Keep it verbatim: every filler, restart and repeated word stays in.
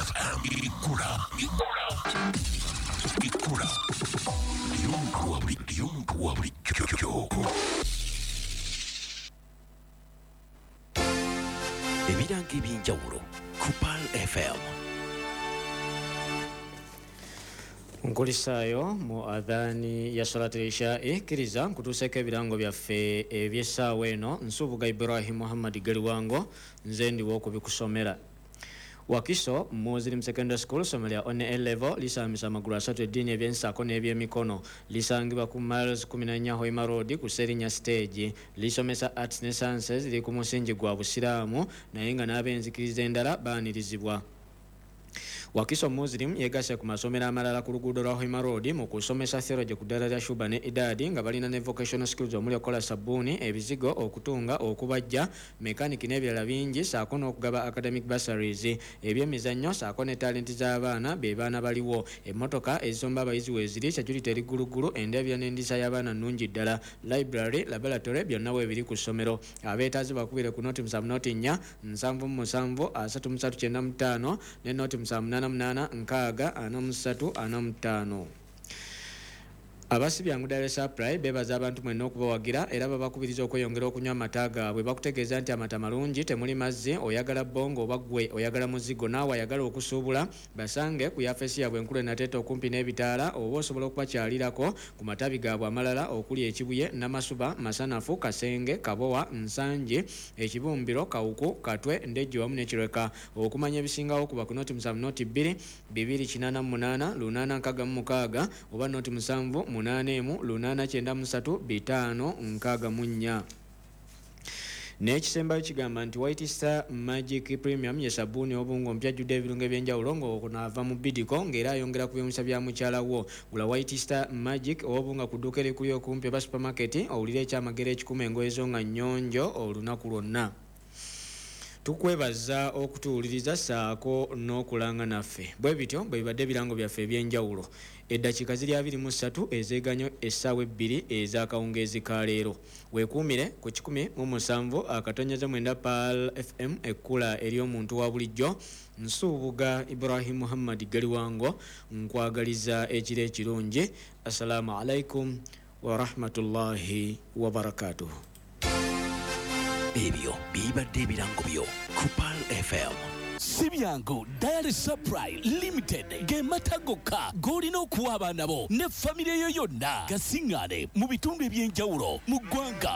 F M Ikura Ikura Ly'omuntu wa bulijjo. Ebirango eby'enjawulo ku Pearl F M. Nkulisaayo mu adhaani ya Salat al-Isha'i, kkiriza nkutuuseeko ebirango byaffe eby'essaawa eno. Nsubuga Ibrahim Muhammad Galiwango, nze ndiwo okubikusomera. Wakiso Muslim Secondary School, ssomero lya one A level, lisambisa amagulu asatu eddiini, ebyensaako n'ebyemikono. Lisangibwa ku miles kumi na nnya Hoima Road ku Serinya stage. Lisomesa arts ne sciences, liri ku musingi gwa Busiraamu naye nga n'ab'enzikiriza endala baanirizibwa. Wakiso Muslim yegasse ku masomero amalala ku luguudo lwa Hoima Road mu kusomesa theology ku ddaala lya Shuba ne Idadi, nga balina ne vocational skills omuli okukola sabbuuni, ebizigo, okutunga, okubajja, mekaniki n'ebirala bingi, ssaako n'okugaba academic bursaries, ebyemizannyo ssaako ne talenti z'abaana be baana baliwo. Emmotoka ezisomba abayizi weeziri, security eri ggulugulu, endabira n'endiisa y'abaana nnungi ddala. Library, laboratory byonna weebiri ku ssomero. Abeetaazi bakubire ku noti musanvu noti nnya nsanvu mu musanvu asatu mu ssatu kyenda mu ttaano ne noti musanvu munaana munaana nkaaga ana mu ssatu ana mu ttaano. Abasibyangu Dairy Supply beebaza abantu mwenna okubawagira era babakubiriza okweyongera okunywa amata gaabwe. Bakutegeeza nti amata malungi, temuli mazzi, oyagala bbongo oba ggwe oyagala muzigo, naawe ayagala okusuubula basange ku yafeesi yaabwe enkulu e Nateete okumpi n'ebitaala, oba osobola okubakyalirako ku matabi gaabwe amalala okuli Ekibuye, Namasuba, Masanafu, Kasenge, Kabowa, Nsangi, Ekibumbiro, Kawuku, Katwe, Ndejje wamu n'Ekireka. Okumanya ebisingawo kuba ku noti musanvu noti bbiri bibiri kinaana mu munaana lunaana nkaaga mu mukaaga oba noti musanvu munaana emu lunaana kyenda mu ssatu bitaano nkaaga mu nnya. N'ekisembayo kigamba nti White Star Magic Premium ye sabbuuni obungo mpya ajjudde ebirungo eby'enjawulo ng'okunaava mu bidiko ng'era ayongera ku by'omusa bya mukyala wo. Gula White Star Magic obunga ku dduuka erikuli okumpi oba supermarket, owulire ekyamagero ekikuma engoye zo nga nnyonjo olunaku lwonna. Tukwebaza okutuwuliriza ssaako n'okulanga naffe. Bwe bityo bwe bibadde ebirango byaffe eby'enjawulo. Eddakiika ziri abiri mu ssatu ezeeganyo essaawa ebbiri ez'akawungeezi ka leero. Weekuumire ku kikumi mu musanvu akatonyeze mwenda Pearl F M, ekkula ery'omuntu wa bulijjo. Nsubuga Ibrahim Muhammad Galiwango, nkwagaliza ekiro ekirungi. Assalaamu alaikum wa rahmatullahi wa barakatuh. Ebyo bibadde ebirango byo ku Pearl F M. Si byangu Dairy Supply Limited ge mata gokka g'olina okuwa abaana bo ne famire yo yonna gasiŋŋaane mu bitundu eby'enjawulo mu ggwanga.